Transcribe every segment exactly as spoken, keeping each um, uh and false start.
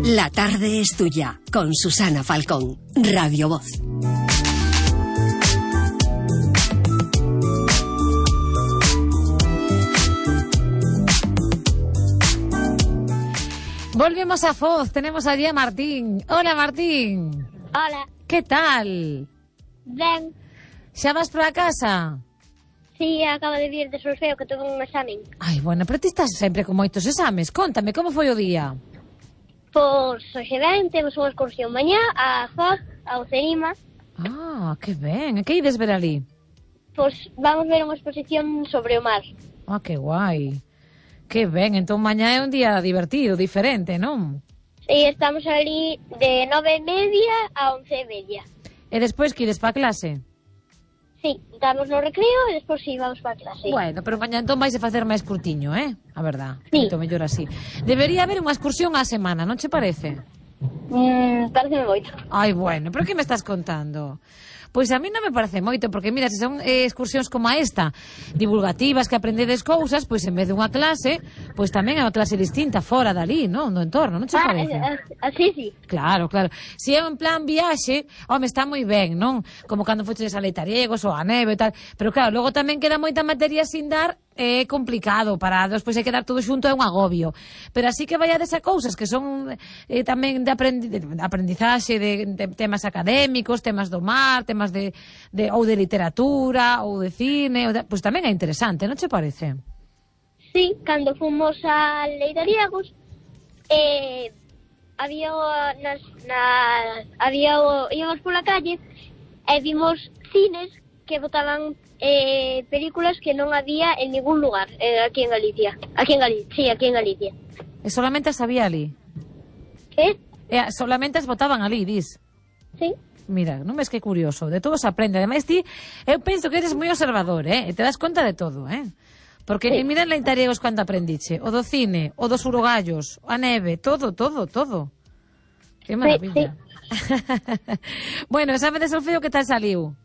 La tarde es tuya, con Susana Falcón, Radio Voz. Volvemos a Foz, tenemos allí a Martín. Hola, Martín. Hola. Que tal? Ben. Xa vas para a casa? Sí, acabo de vir de Solfeo, que tuve un examen. Ai, bueno, pero ti estás sempre con moitos exames. Contame, como foi o día? Pois, hoxe ben, temos unha excursión mañá a Foz, a Ocerima. Ah, que ben. E que ides ver ali? Pois vamos ver unha exposición sobre o mar. Ah, que guai. Que ben, entón mañá é un día divertido, diferente, non? E estamos ali de nove e media a once e media. E despois que ides pa clase? Sí, estamos no recreo e despois sí, vamos pa clase. Bueno, pero mañá entón vais a facer máis curtiño, eh? A verdad, sí. Moito mellor así. Debería haber unha excursión á semana, non che parece? Mm, pareceme moito. Ai, bueno, pero que me estás contando? Pois a mí non me parece moito, porque mira, se son eh, excursións como a esta, divulgativas, que aprendedes cousas, pois en vez dunha clase, pois tamén é unha clase distinta, fora dali, non? No entorno, non che ah, parece? Así, sí. Claro, claro. Se é un plan viaxe, home, está moi ben, non? Como cando foches a Leitariegos ou a neve e tal, pero claro, logo tamén queda moita materia sin dar, é complicado para despois hai que dar todo xunto, é un agobio. Pero así que vaiades a cousas que son eh, tamén de, aprendi de aprendizaxe de, de temas académicos, temas do mar, temas de, de ou de literatura ou de cine, ou de, pois tamén é interesante, non che parece? Sí, cando fomos a Leitariegos eh, había nas, na, había íbamos pola calle e vimos cines que botaban eh, películas que non había en ningún lugar eh, aquí en Galicia. Aquí en Galicia, sí, aquí en Galicia. E solamente as había ali? Que? E solamente as botaban ali, dis? Sí. Mira, non ves que curioso, de todo se aprende. Ademais ti, eu penso que eres moi observador, eh? E te das conta de todo, eh? Porque sí. Mira en Leitariegos cando aprendiche, o do cine, o dos urogallos, a neve, todo, todo, todo. Que maravilla. Sí, sí. Bueno, exame de solfeo que tal saliu?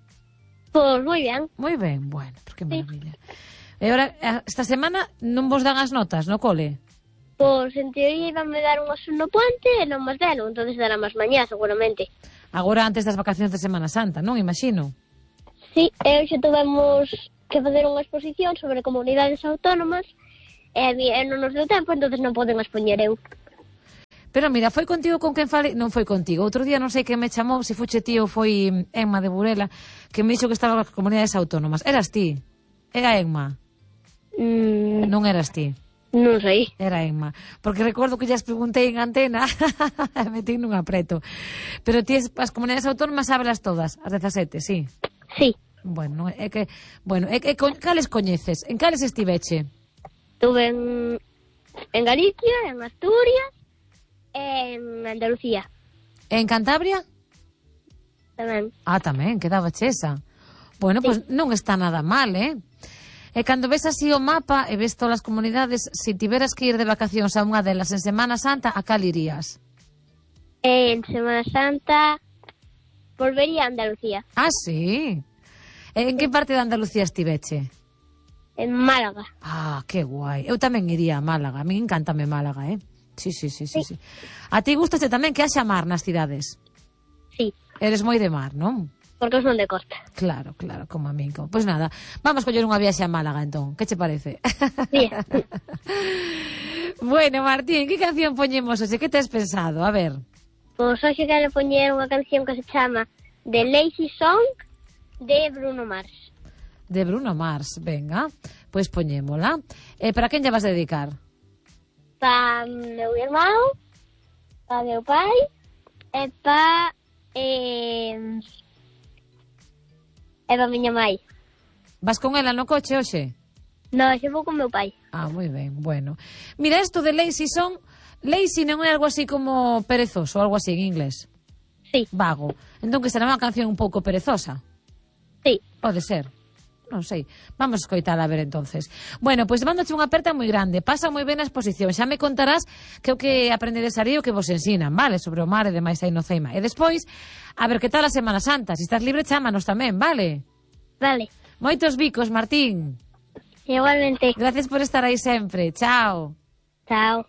Pois moi ben. Moi ben, bueno, pues que maravilla. Sí. E agora, esta semana non vos dan as notas no cole? Pois en teoría iban me dar unhas no puente e non máis delo, entonces dará máis mañá seguramente. Agora antes das vacacións de Semana Santa, non? Imagino. Sí, e hoxe tivemos que facer unha exposición sobre comunidades autónomas e, e non nos deu tempo, entonces non poden expoñer eu. Pero mira, foi contigo con quen fale... Non foi contigo. Outro día non sei quen me chamou, se fuche ti ou foi Emma de Burela, que me dixo que estaba nas comunidades autónomas. Eras ti? Era Emma? Mm. Non eras ti? Non sei. Era Emma. Porque recordo que ya as preguntei en antena, metí nun apreto. Pero ti as comunidades autónomas sábelas todas, as dezasete, sí? Sí. Bueno, é que... Bueno, é que cales coñeces? En cales estiveche? Estuve en, en Galicia, en Asturias, en Andalucía. En Cantabria? Tamén. Ah, tamén, quedaba chesa. Bueno, sí. Pois pues non está nada mal, eh? E cando ves así o mapa e ves todas as comunidades, se tiveras que ir de vacacións a unha delas en Semana Santa, a cal irías? En Semana Santa volvería a Andalucía. Ah, sí? En que parte de Andalucía estiveche? En Málaga. Ah, que guai. Eu tamén iría a Málaga. A mí encántame Málaga, eh? Sí, sí, sí, sí, sí. A ti gustaste tamén que haxa mar nas cidades? Sí. Eres moi de mar, non? Porque son de costa. Claro, claro, como a mí. Pois pues nada, vamos coller unha viaxe a Málaga, entón. Que che parece? Sí. Bueno, Martín, que canción poñemos hoxe? Que tes pensado? A ver. Pois pues hoxe quero poñer unha canción que se chama The Lazy Song de Bruno Mars. De Bruno Mars, venga. Pois pues poñémola. E para quen lle vas a dedicar? Pa meu irmão, pa meu pai e pa eh, e pa miña mãe. Vas con ela no coche hoxe? No, xe vou con meu pai. Ah, moi ben, bueno. Mira, isto de lazy song, lazy non é algo así como perezoso, algo así en inglés? Sí. Vago. Entón que será unha canción un pouco perezosa? Sí. Pode ser. Non sei, vamos a escoitar a ver entonces. Bueno, pois pues, mándoche unha aperta moi grande. Pasa moi ben a exposición. Xa me contarás que o que aprendedes ali o que vos ensinan, vale? Sobre o mar e demais aí no Ceima. E despois, a ver que tal a Semana Santa. Se estás libre, chámanos tamén, vale? Vale. Moitos bicos, Martín. Igualmente. Gracias por estar aí sempre. Chao. Chao.